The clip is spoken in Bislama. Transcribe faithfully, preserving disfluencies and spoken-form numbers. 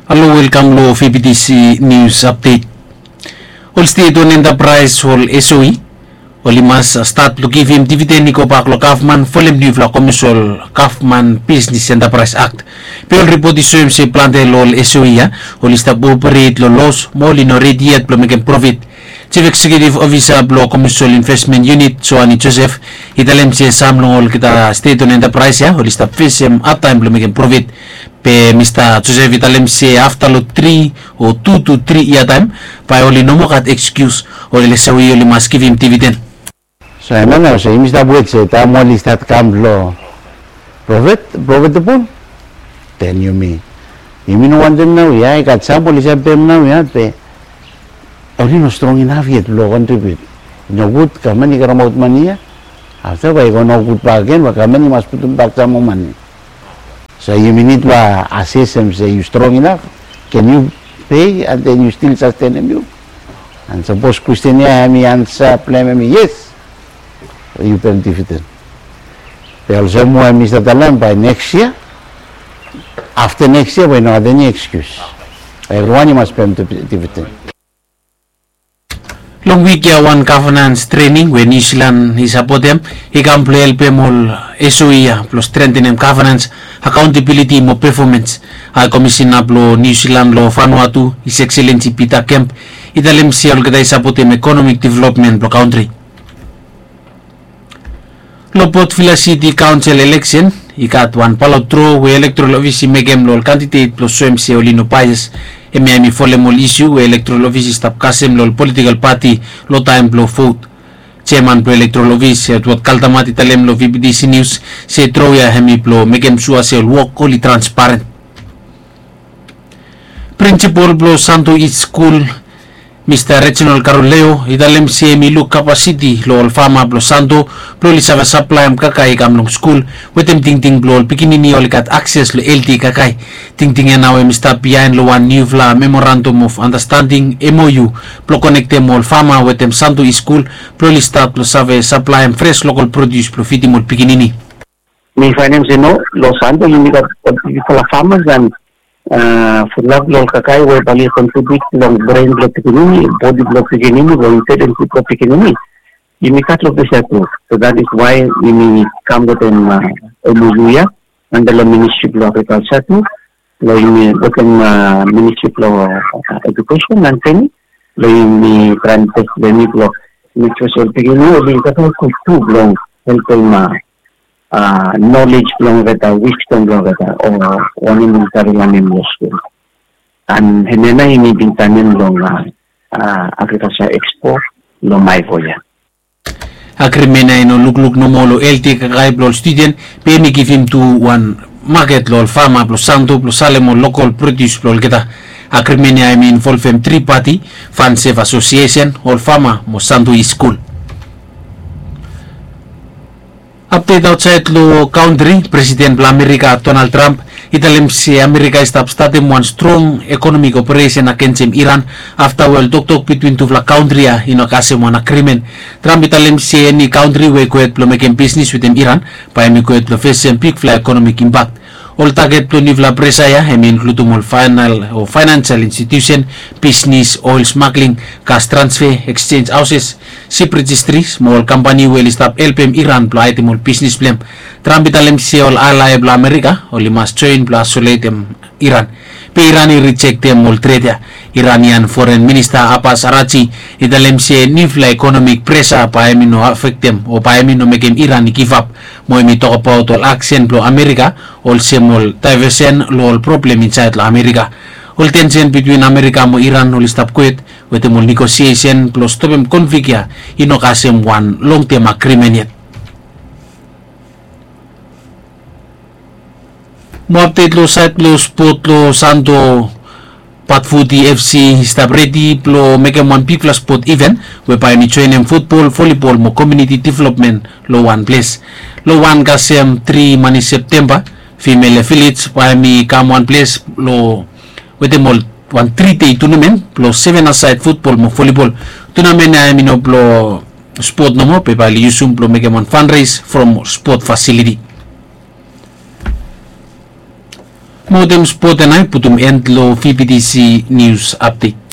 Halo, welkam lo V B T C News Update. Ol stet on entapraes, ol S O E, oli mas stat lo givim dividen i gobak lo gavman folem niufala komesol Gavman Bisnes Entapraes Akt. Be ol ripot i soem se plante lo ol S O E ya oli stap operet lo los mo oli no redi yet blo mekem profit. Chief Executive Officer blo Komesol Investment Unit, Joani Joseph, i talem se sam long olgeta stet on entapraes ya oli stap fesem hadtaem blo mekem profit. Be Mista Joseph i talem se afta lo tri o tu tu tri yia taem, bae oli no moa gat ekskius, ol S O E oli mas givim dividen. So hemia nao se yumi stap wet se taem oli stat kam lo profit, profitable, then yumi, yumi no wantem naoia, i gat sam oli save pem naoia, be oli no strong inaf yet blo kontribut. I nogud gavman i karemaot mane ya, afta bae i go nogud bakegen, bae gavman i mas putum bak sam moa mane. So yumi nid bae asesem se yu strong inaf, ken yu pei and then yu stil sastenem yu? And sapos kwestin ya hemi ansa blong hem hemi yes, yu pem dividen. Be olsem we mi save talem, bae neks yia, afta neks yia bae i no gat eni ekskius. Evriwan i mas pem dividen. Long wik ya wan gavanans trening we Niu Silan i sapotem i kam blo helpem ol S O E ya blo strentenem gavanans, akaontabiliti mo pefomans. Hae Komisena blo Niu Silan lo Vanuatu, His Excellency Peter Kemp, i talem se olgeta i sapotem ekonomik developmen blo kantri. Lo Port Vila City Council eleksen i gat wan balot dro we elektoral ofis i mekem lo ol kandidet blo soem se oli no baes. Hemia hemi folem ol isu we elektoral ofis i stap kasem lo ol politikol pati lo taem blo vot. Jeaman blo elektoral ofis, Edward Kaldamat, i talem lo V B T C News se dro ya hemi blo mekem sua se ol wok oli transparen. Prinsipol blo Santo East Skul, Mista Reginald Karoleo, i talem se hemi luk kapasiti lo ol fama blo Santo blo oli save saplaem kakae i kam long skul, wetem tingting blo ol pikinini oli gat akses lo helti kakae. Tingting ya nao hemi stap biaen lo wan niufala Memorandum of Understanding, M O U, blo konektem ol fama wetem Santo East Skul blo oli stat blo save saplaem fres lokol produs blo fidim ol pikinini. Mi faenem se no, lo Santo yumi gat ol bigfala famas and fulap lo ol kakae we bae oli kontribut long bren blo pikinini, bodi blo pikinini, lo intelijensi blo pikinini. Yumi gat lo ples ya tu. So that is why yumi kam wetem M O U ya anda lo Ministri blo Agrikalsa tu, lo yumi wetem Ministri blo Edukesen and Trening, lo yumi traem tes blo yumi blo mek sua se ol pikinini oli gat ol gud tu blo helpem nolej blong olgeta, wisdom blong olgeta, o wanem oli save lanem long skul. And hemia nao yumi bin saenem long Agriculture Expo long Maevo ya. Agrimen ya i no lukluk nomo long helti kakae blong ol studen, be hemi givim tu wan maket long ol fama blong Santo blong salem ol lokol produs blong olgeta. Agrimen ya hemi involvem tri pati, Farm Safe Association, ol fama mo Santo East Skul. Apdet aotsaed long kantri, Presiden blong Amerika Donald Trump i talem se Amerika i stap statem wan strong ekonomik operesen agensem Iran afta we ol toktok bitwin tufala kantri ya i no kasem wan agrimen. Trump i talem se eni kantri we i go hed blong mekem bisnes wetem Iran bae hemi go hed blong fesem bigfala ekonomik impak. Ol taget blong niufala presa ya hemi inkludim ol faenal o faenansal institiusen, bisnes, oel smagling, gas transfe, eksenj haoses, sip rejistris mo ol kampani we oli stap helpem Iran blong haedem ol bisnes blong hem. Trump i talem se ol alae blong Amerika oli mas joen blong aisoletem Iran. Be Iran i rijektem ol tret ya. Iranian Foren Minista Abbas Arachi i talem se niufala ekonomik presa bae hemi no afektem o bae hemi no mekem Iran i givap, mo hemi tokbaot ol aksen blong Amerika olsem ol daevesen long ol problem insaed long Amerika. Ol tensen bitwin Amerika mo Iran oli stap kwet wetem ol negosiesen blong stopem konflik ya i no kasem wan longtem agrimen yet. Mo apdet long saed blong spot long Santo, Patfuti F C i stap redi blong mekem wan bigfala spot iven we bae hemi joenem futbol, volibol mo komuniti developmen long wan ples. Long wan kasem tri manif Septemba, Female Village bae hemi kam wan ples long wetem ol wan tri dei tunamen blong seven asaed futbol mo volibol. Tunamen ya hemi no blong spot nomo be bae oli yusum blong mekem wan fanres from spot fasiliti. Mo wetem spot ya nao i putum en long vptc nius apdet.